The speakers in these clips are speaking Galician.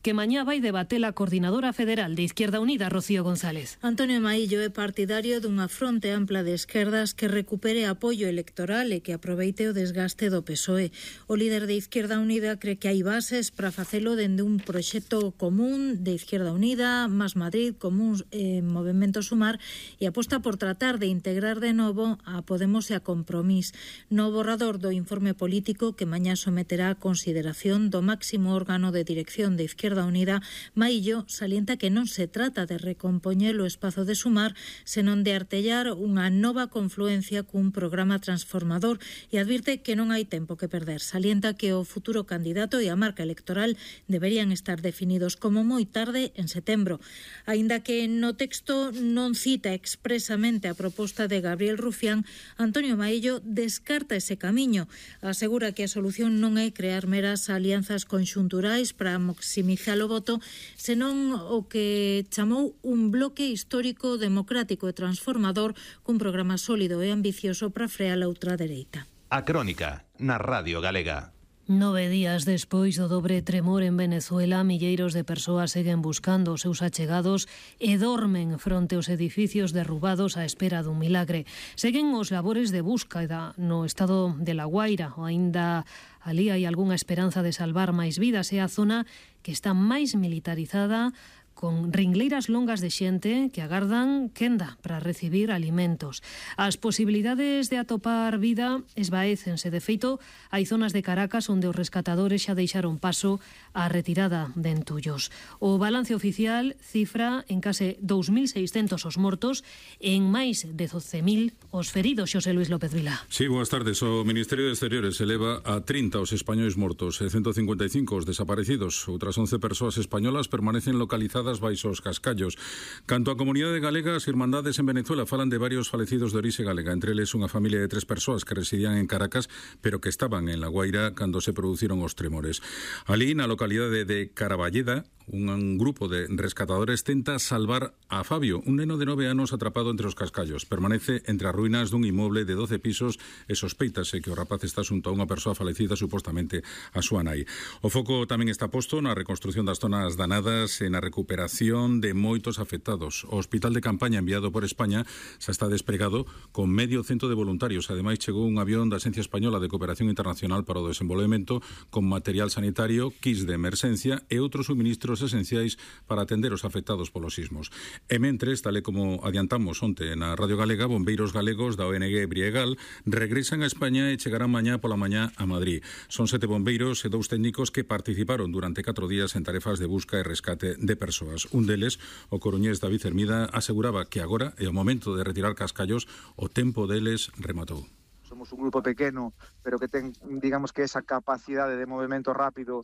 que mañá vai debater a coordinadora federal de Izquierda Unida, Rocío González. Antonio Maillo é partidario dunha fronte ampla de esquerdas que recupere apoio electoral e que aproveite o desgaste do PSOE. O líder de Izquierda Unida cree que hai bases para facelo dende un proxecto común de Izquierda Unida, Más Madrid, Común, Movemento Sumar, e aposta por tratar de integrar de novo a Podemos e a Compromís no borrador do informe político que mañá someterá a consideración do máximo órgano de dirección de Izquierda Unida. Maillo salienta que non se trata de recompoñer o espazo de Sumar, senón de artellar unha nova confluencia cun programa transformador, e advirte que non hai tempo que perder. Salienta que o futuro candidato e a marca electoral deberían estar definidos como moi tarde en setembro. Aínda que no texto non cita expresamente a proposta de Gabriel Rufián, Antonio Maillo descarta ese camiño. Asegura que a solución non é crear meras alianzas conxunturais para maximizar o voto, senón o que chamou un bloque histórico, democrático e transformador cun programa sólido e ambicioso para frear a ultradereita. A Crónica, na Radio Galega. 9 días despois do dobre tremor en Venezuela, milleiros de persoas seguen buscando os seus achegados e dormen fronte aos edificios derrubados á espera dun milagre. Seguen os labores de búsqueda no estado de La Guaira, ou aínda ali hai algunha esperanza de salvar máis vidas. É a zona que está máis militarizada, con ringleiras longas de xente que agardan quenda para recibir alimentos. As posibilidades de atopar vida esvaécense. De feito, hai zonas de Caracas onde os rescatadores xa deixaron paso á retirada de entullos. O balance oficial cifra en case 2.600 os mortos e en máis de 12.000 os feridos. Xosé Luis López Vila. Sí, boas tardes. O Ministerio de Exteriores eleva a 30 os españois mortos e 155 os desaparecidos. Outras 11 persoas españolas permanecen localizadas baixo os cascallos. Canto á comunidade galega, as irmandades en Venezuela falan de varios falecidos de orixe galega, entre eles unha familia de 3 persoas que residían en Caracas, pero que estaban en La Guaira cando se produciron os tremores. Alí, na localidade de Caraballeda, un grupo de rescatadores tenta salvar a Fabio, un neno de 9 anos atrapado entre os cascallos. Permanece entre as ruínas dun inmoble de 12 pisos e sospeítase que o rapaz está xunto a unha persoa falecida, supostamente a súa nai. O foco tamén está posto na reconstrución das zonas danadas e na recuperación de moitos afectados. O hospital de campaña enviado por España xa está desplegado con medio cento de voluntarios. Ademais, chegou un avión da Axencia Española de Cooperación Internacional para o Desenvolvemento con material sanitario, kits de emerxencia e outros suministros esenciais para atender os afectados polos sismos. E mentres, tal e como adiantamos onte na Radio Galega, bombeiros galegos da ONG Briegal regresan a España e chegarán mañá pola mañá a Madrid. Son 7 bombeiros e 2 técnicos que participaron durante 4 días en tarefas de busca e rescate de persoas. Un deles, o coruñés David Hermida, aseguraba que agora é o momento de retirar cascallos, o tempo deles rematou. Somos un grupo pequeno, pero que ten, digamos que esa capacidade de movimento rápido,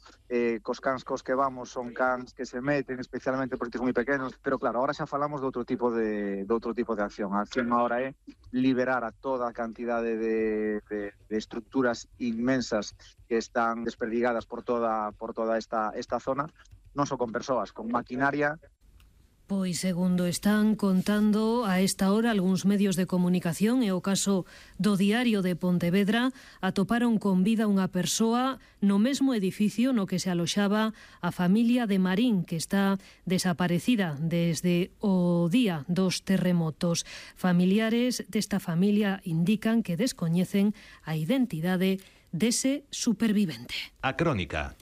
cos cans cos que vamos son cans que se meten, especialmente porque son moi pequenos, pero claro, ahora xa falamos de outro tipo de acción. A acción agora é liberar a toda a cantidade de estructuras inmensas que están desperdigadas por toda esta zona, non só con persoas, con maquinaria. Pois segundo están contando a esta hora algúns medios de comunicación, e o caso do Diario de Pontevedra, atoparon con vida unha persoa no mesmo edificio no que se aloxaba a familia de Marín, que está desaparecida desde o día dos terremotos. Familiares desta familia indican que descoñecen a identidade dese supervivente. A Crónica.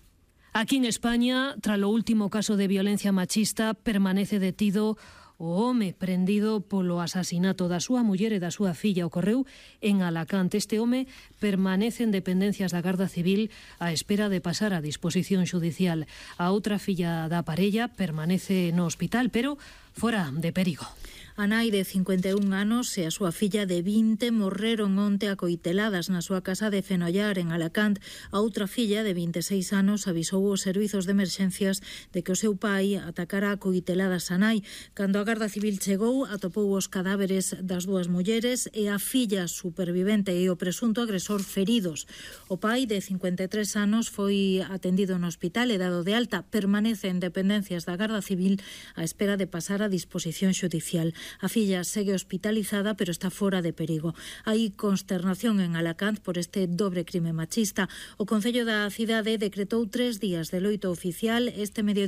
Aquí en España, tras o último caso de violencia machista, permanece detido o home prendido polo asasinato da súa muller e da súa filla. Ocorreu en Alacante. Este home permanece en dependencias da Garda Civil á espera de pasar a disposición xudicial. A outra filla da parella permanece no hospital, pero fora de perigo. A nai de 51 anos e a súa filla de 20 morreron onte acoiteladas na súa casa de Fenollar, en Alacant. A outra filla de 26 anos avisou os servizos de emerxencias de que o seu pai atacara acoiteladas a nai. Cando a Garda Civil chegou, atopou os cadáveres das dúas mulleres e a filla supervivente e o presunto agresor feridos. O pai de 53 anos foi atendido no hospital e dado de alta. Permanece en dependencias da Garda Civil á espera de pasar a disposición xudicial. A filla segue hospitalizada, pero está fora de perigo. Hai consternación en Alacant por este dobre crime machista. O Concello da cidade decretou 3 días de loito oficial este medio